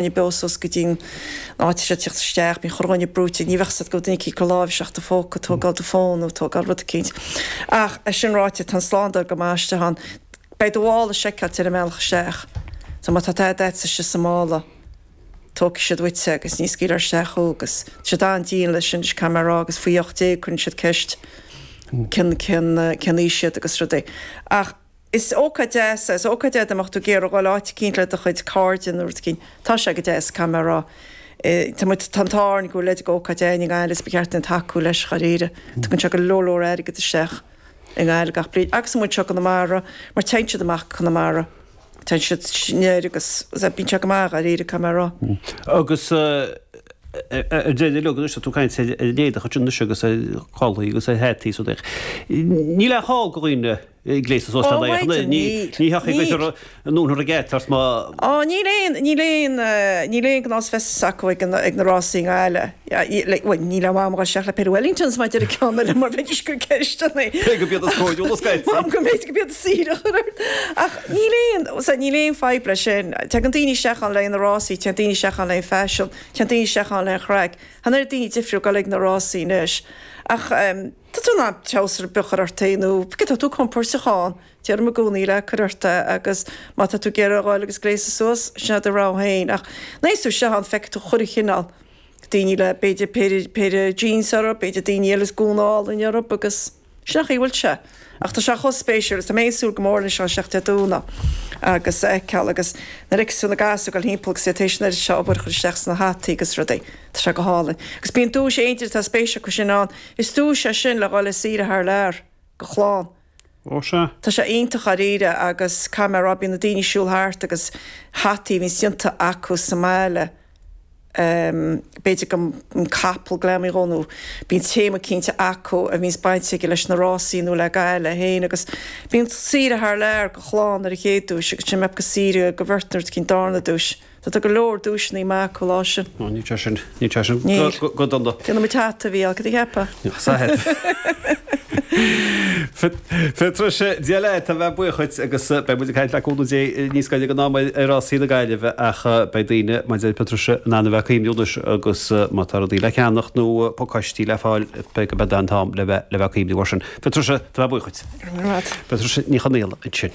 dhuine beo suas go dtí an áit seo teacht isteach, bíonn chuile dhuine brúite, ní bheadh 's agat go bhfuil duine eicínt ag cur lámh isteach do phóca, tógáil do fón nó tógáil rud eicínt. Ach é sin ráite, tá an slándáil go maith istigh ann. Beidh do mhála seiceáilte ar an mbealach isteach. So má tá tada agatsa istigh sa mála, tógfaidh siad uait é agus ní scaoilfear isteach thú agus tá siad an-dian leis sin, caithfidh mé a rá agus faoi 18 cuireann siad ceist cén cén cén aois iad agus rudaí. Ach Is ócáid deas é. Is ócáid é dá mbeadh tú ag iarraidh dhul áit eicínt le do chuid cairde nó rud eicínt. Tá sé go deas, caithfidh mé a rá. Tá muid, tá an t-ádh orainn go bhfuil leithéid d'ócáid againn i nGaillimh is ba cheart dúinn tacú leis, dháiríre. Tugann sé go leor leor airgead isteach i nGaillimh gach bliain agus amuigh anseo i gConamara mar téann siad amach go Conamara. Téann siad anoir agus bíonn sé go maith, dháiríre, caithfidh mé a rá. Agus ar deireadh uilig anois, tá tú ag caint ar an éadach ansin anois agus ar chulaith agus ar hataí is rudaí. Níl aon chall do dhaoine gléasadh suas le haghaidh ní thiocfaidh go an ndúnfar an geata ort má. Ó níl aon, níl aon, níl aon gnás feistis acu ag an, ag na rásaí i nGaillimh. Bhuel, níl aon mhaith dom a dhul isteach le péire Wellingtons mar a deir an ceann eile mar bheidís ag cur ceisteanna. Cé go b'iad is cóiriúla scaití. Maram go mb'fhéidir go b'iad is saoire a chur ort. Ach níl aon, sea, níl aon fadhb leis sin. Tagann daoine isteach ann le haghaidh na rásaí, téann daoine isteach ann le haghaidh an faisean, téann daoine isteach ann le haghaidh an chraic. Tá an oiread daoine difriúil ag dul ag na rásaí anois. Ach. Tá tú in ann treabhsar beag a chur ort féin nó cé tá tú compóirteach ann, déarfainn i gcónaí le cur ort é agus má tá tú ag iarraidh a dhul agus gléasadh suas, sin é do rogha féin. Ach nuair a théanns tú isteach ann feicfidh tú chuile chineál daoine le b'fhéidir péire, péire jeans orthu, b'fhéidir daoine eile is gúna álainn orthu agus sin an chaoi a bhfuil sé. Ach tá sé chomh spéisiúil agus tá mé ag súil go mór leis isteach Dé Domhnaigh agus a fheiceáil agus nuair a fheicfeas tú na gasúir ag dul thimpeall agus iad tar éis an oiread seo obair a chur isteach sna hataí agus rudaí. Tá sé go hálainn. Agus bíonn duais aon duine atá spéis acu sin ann, is duais é sin le dhul ar saoire thar lear do chlann. Ó sea. Tá sé iontach dháiríre agus caithfidh mé a rá bíonn na daoine ag siúl thart agus hataí a bhíonns déanta acu sa mbaile, b'fhéidir go an capall greamaithe dhó nó bíonn téama cinnte acu a bhíonns baint aige leis na rásaí nó le Gaillimh féin agus bíonn saoire thar lear do chlann ar an chéad duais agus sin go saoire do bheirt nó rud eicínt darna duais. Tá go leor duaiseanna maith acu lá sin. Ó, níl sé sin, níl sé sin Níl. go dona. Déanfaidh muid hata, a Mhícheál, cad a cheapfá? Patricia, Dia leat, tá mé buíoch dhuit agus beidh muid ag caint le cúnamh Dé níos gaire don am ar rásaí na Gaillimhe ach beidh daoine, mar a deir Patricia, in ann a bheith ag cuimhniú anois agus má tá rudaí le ceannacht nó pacáistí le fáil beidh go beidh an t-am le bheith le bheith ag cuimhniú air sin. Patricia, tá mé buíoch dhuit. Go raibh maith agat. Patricia Ní Chonaola ansin.